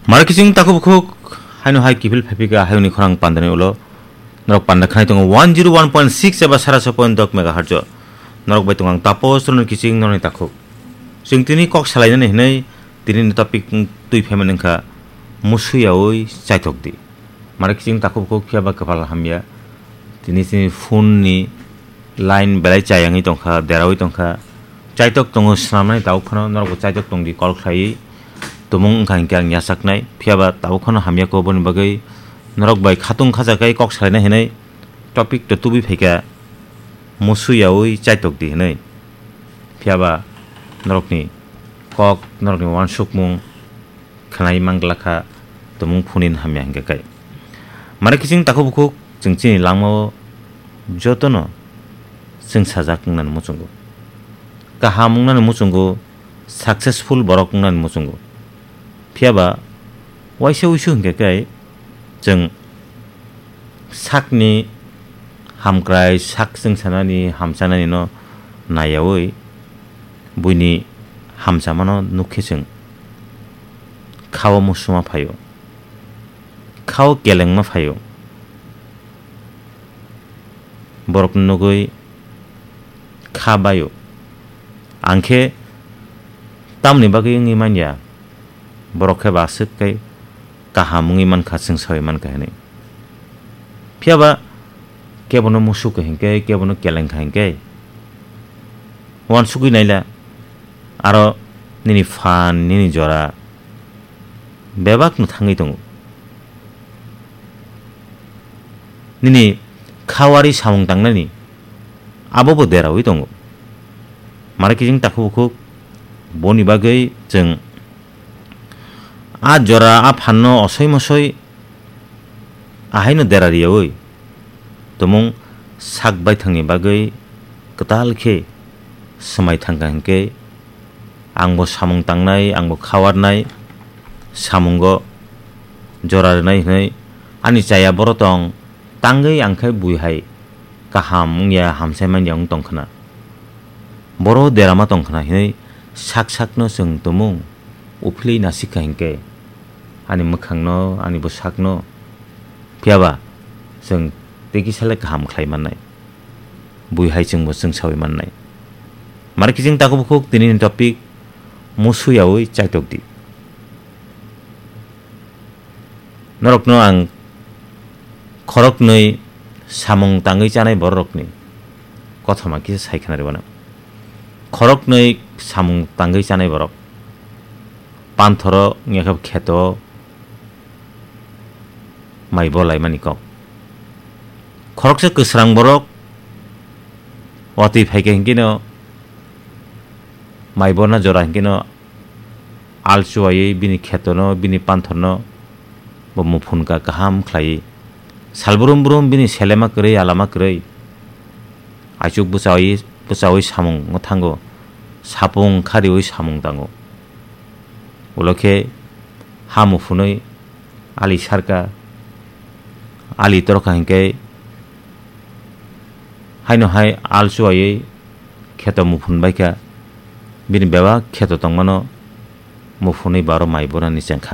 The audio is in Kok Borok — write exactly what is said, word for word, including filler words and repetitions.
Mara kiching takhuk bukhuk haino hai kiphil phaipika hayungni khorang pandani ulo. Norok panda khnai tongo one zero one point six eba sara so point dok megahertz o. Norok bai tongo ang Tapos Rono kiching norni takhuk. Chwng tini kok salainani hinwi tini ni topic twi phaimani wngkha musuyaui chaitok di. Mara kiching takhuk bukhuk phiya ba kwpal hamya. Tini chini phone ni line belai chayangwi tongkha, deraui tongkha. Chaitok tongo swnamnani tabuk phano norokbo chaitok tongdi call khlaiwi. Tumung wngkha hinkhe ang yachaknai. Phiya ba tabuk phano hamya kho boni bagwi norok bai khatung khajakai kok salaina hinwi topic to tubui phaikha musuyaui chaitok di hinwi. Phiya ba norokni kok, norokni uansukmung, khnai manglakha, tumung phunini hamya hinkhe kai. Mara kiching takhuk bukhuk chwng chini langmao jotono chwng sajak wngnani muchungo. Kaham wngnani muchungo, successful borok wngnani muchungo. Phiya ba waisa wuisu hinkhe kai chwng sakni hamkrai sak chwng sanani hamchanani no naiyaui buini hamchamano nukkhe chwng khao musuma phaio, khao kelengma phaio, borokno nugui kha baio. Ang khe tamoni bagwi wngwi manya, borok khe ba aswk kai kaham wngwi mankha, chwng saui mankha hinwi. Phiya ba kebono musuk kha hinkhe, kebono keleng kha hinkhe, uansugwi naila, aro nini phan, nini jora bebakno thangwi tongo. Nini khawari samung tangnani abo bo deraui tongo. Mara kiching takhuk bukhuk boni bagwi chwng a jora a phanno osoi mosoi ahaino dera riyaui tumung sak baithangni bagwi kwtal khe swmai thangkha hinkhe, angbo samung tangnai, angbo khawarnai, samungo jora rwnai hwnwi ani chaya boro tong tangwi ang khe bui hai kaham wngya, hamsai manya wng tong khna. Boro derama tong khna hinwi sak sakno chwng tumung uphilwi nasikha hinkhe, ani mwkhangno, ani bwsakno, phiya ba chwng tei kisa le kaham khlai mannai. Bui hai chwngbo chwng saui mannai. Mara kiching takhuk bukhuk tini ni topic musuyaui chaitok di. Norokno ang khoroknwi samung tangwi chanai bororokni kothoma kisa sai khna rwmano. Khoroknwi samung tangwi chanai borok. Panthoro wngya khe kheto mai bo laimani kok. Khoroksa kwsrang borok watwi phaikha hinkhe no mai borna jora hinkhe no al chuwaiwi bini khetono, bini panthorno bo muphunka kaham khlaiwi. Sal brum brum bini selema kwrwi, alama kwrwi. Aichuk bwchawi, bwchawi samung thango, sapung khariwi samung tango. Ulo khe ha muphunwi ali sarka, ali torkha hinkhe haino hai al chuwaiwi kheto muphun baikha, bini bebak kheto tongmano muphunwi baro mai borani chengkha.